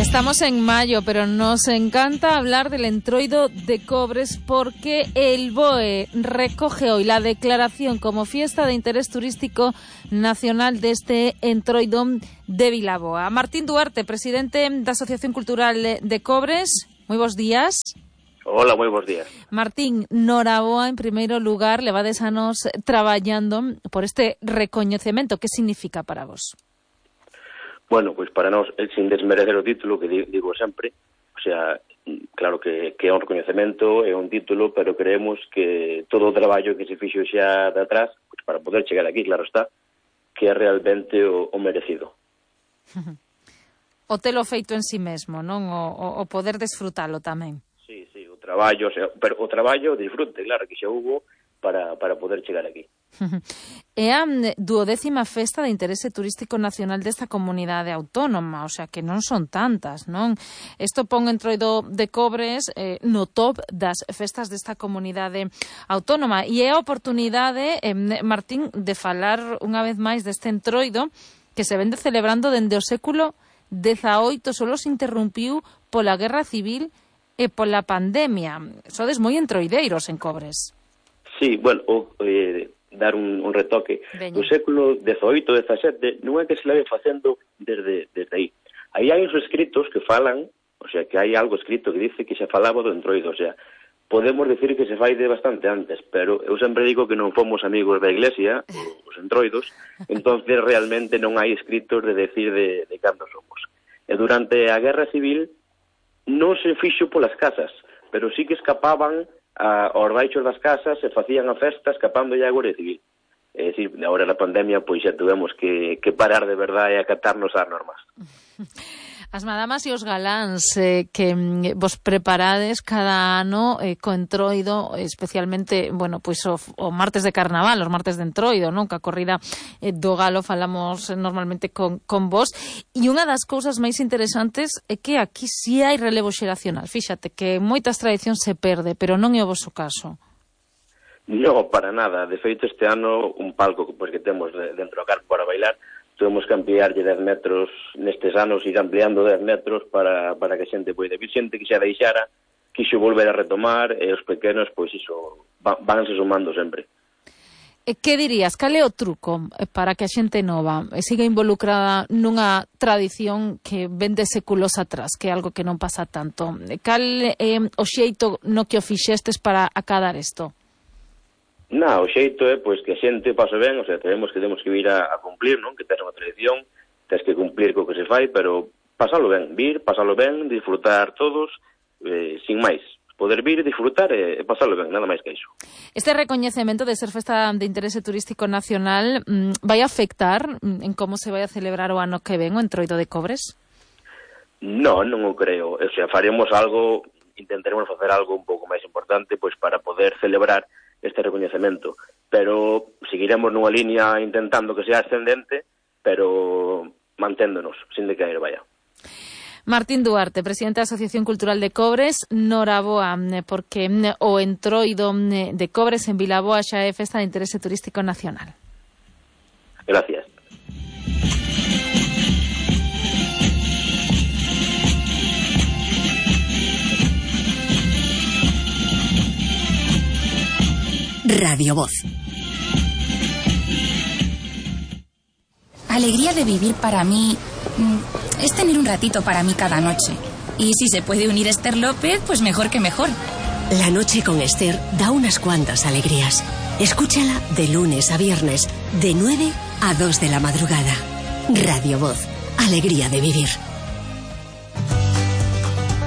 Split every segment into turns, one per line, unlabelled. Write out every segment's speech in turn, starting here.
Estamos en mayo, pero nos encanta hablar del Entroido de Cobres porque el BOE recoge hoy la declaración como fiesta de interés turístico nacional de este Entroido de Vilaboa. Martín Duarte, presidente da Asociación Cultural de Cobres, moi bons días.
Hola, moi bons días.
Martín, noraboa, en primeiro lugar, levades anos traballando por este recoñecemento. Que significa para vos?
Bueno, pois para nós, sin desmerecer o título, que digo sempre, o sea, claro que é un recoñecemento, é un título, pero creemos que todo o traballo que se fixo xa de atrás, pois para poder chegar aquí, claro está, que é realmente o merecido.
O telo feito en si mesmo, non? O poder desfrutalo tamén.
Sí, o traballo, o sea, pero o traballo, disfrute, claro, que xa hubo para poder chegar aquí.
É a 12ª festa de interese turístico nacional desta comunidade autónoma, o sea que non son tantas, non? Isto pon Entroido de Cobres no top das festas desta comunidade autónoma e é a oportunidade, Martín, de falar unha vez máis deste Entroido que se vende celebrando dende o século XVIII, solo se interrumpiu pola Guerra Civil e pola pandemia. Sodes moi entroideiros en Cobres.
Sí, bueno, dar un retoque.
Veña.
No século XVIII, XVII, non é que se leve facendo desde aí. Aí hai uns escritos que falan, o sea, que hai algo escrito que dice que se falaba do Entroido, o sea, podemos decir que se fai de bastante antes, pero eu sempre digo que non fomos amigos da Iglesia, os Entroidos, entonces realmente non hai escritos de decir de cando somos. E durante a Guerra Civil non se fixo polas casas, pero sí que escapaban aos baixos das casas e facían a festa escapando a Guardia Civil. É dicir, agora na pandemia pois xa tuvemos que parar de verdade e acatarnos ás normas.
As madamas e os galáns que vos preparades cada ano co Entroido, especialmente, bueno, pois o martes de carnaval, os martes de Entroido, non? Que a corrida do galo falamos normalmente con vos. E unha das cousas máis interesantes é que aquí si hai relevo xeracional. Fíxate que moitas tradicións se perde, pero non é o vosso caso.
No, para nada. De feito, este ano, un palco pois, que temos dentro do carpo para bailar, tuvemos que ampliarlle 10 metros nestes anos, ir ampliando 10 metros para que a xente poida vir. Xente que xa deixara, quixo volver a retomar, e os pequenos, pois iso, vanse sumando sempre.
E que dirías? Cal é o truco para que a xente nova siga involucrada nunha tradición que vende séculos atrás, que é algo que non pasa tanto? Cal é o xeito no que o fixestes para acadar isto?
O xeito é pois que a xente pase ben, o sea, temos que vir a cumplir, non? Que tes unha tradición, tes que cumplir co que se fai, pero pasalo ben, pasalo ben, disfrutar todos, sin máis. Poder vir, disfrutar e pasalo ben, nada máis que iso.
Este recoñecemento de ser festa de interese turístico nacional vai afectar en como se vai a celebrar o ano que ven o Entroido de Cobres?
Non o creo. O sea, faremos algo, intentaremos facer algo un pouco máis importante pois para poder celebrar este recoñecemento, pero seguiremos nunha liña intentando que sea ascendente, pero manténdonos, sin decaer, vaya.
Martín Duarte, presidente da Asociación Cultural de Cobres, noraboa, porque o Entroido de Cobres en Vilaboa xa é festa de interese turístico nacional.
Gracias.
Radio Voz.
Alegría de vivir para mí es tener un ratito para mí cada noche. Y si se puede unir Esther López, pues mejor que mejor.
La noche con Esther da unas cuantas alegrías. Escúchala de lunes a viernes, de 9 a 2 de la madrugada. Radio Voz. Alegría de vivir.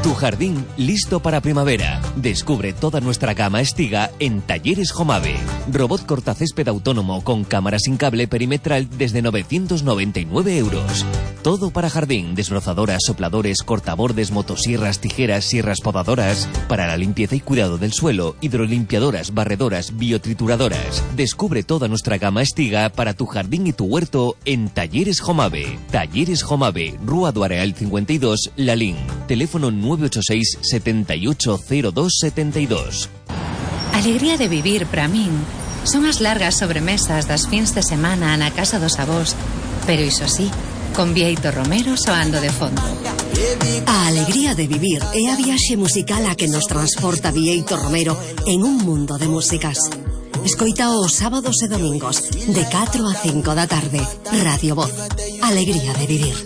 Tu jardín listo para primavera. Descubre toda nuestra gama Estiga en Talleres Jomave. Robot cortacésped autónomo con cámara sin cable perimetral desde 999 euros. Todo para jardín, desbrozadoras, sopladores, cortabordes, motosierras, tijeras, sierras podadoras. Para la limpieza y cuidado del suelo, hidrolimpiadoras, barredoras, biotrituradoras. Descubre toda nuestra gama Estiga para tu jardín y tu huerto en Talleres Jomave. Talleres Jomave, Rúa do Areal 52, Lalín. Teléfono 986 780272.
Alegría de vivir para min son as largas sobremesas das fins de semana na casa dos avós, pero iso sí, con Bieito Romero soando de fondo.
A alegría de vivir é a viaxe musical a que nos transporta Bieito Romero en un mundo de músicas. Escoita os sábados e domingos de 4 a 5 da tarde. Radio Voz. Alegría de vivir.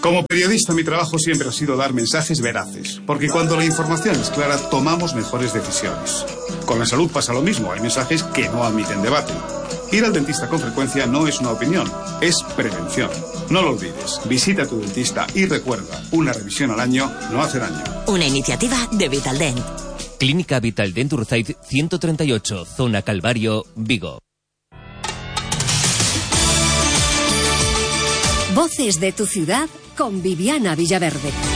Como periodista, mi trabajo siempre ha sido dar mensajes veraces, porque cuando la información es clara, tomamos mejores decisiones. Con la salud pasa lo mismo, hay mensajes que no admiten debate. Ir al dentista con frecuencia no es una opinión, es prevención. No lo olvides, visita a tu dentista y recuerda, una revisión al año no hace daño.
Una iniciativa de Vitaldent.
Clínica Vitaldent Urzaid 138, Zona Calvario, Vigo.
Voces de tu ciudad con Viviana Villaverde.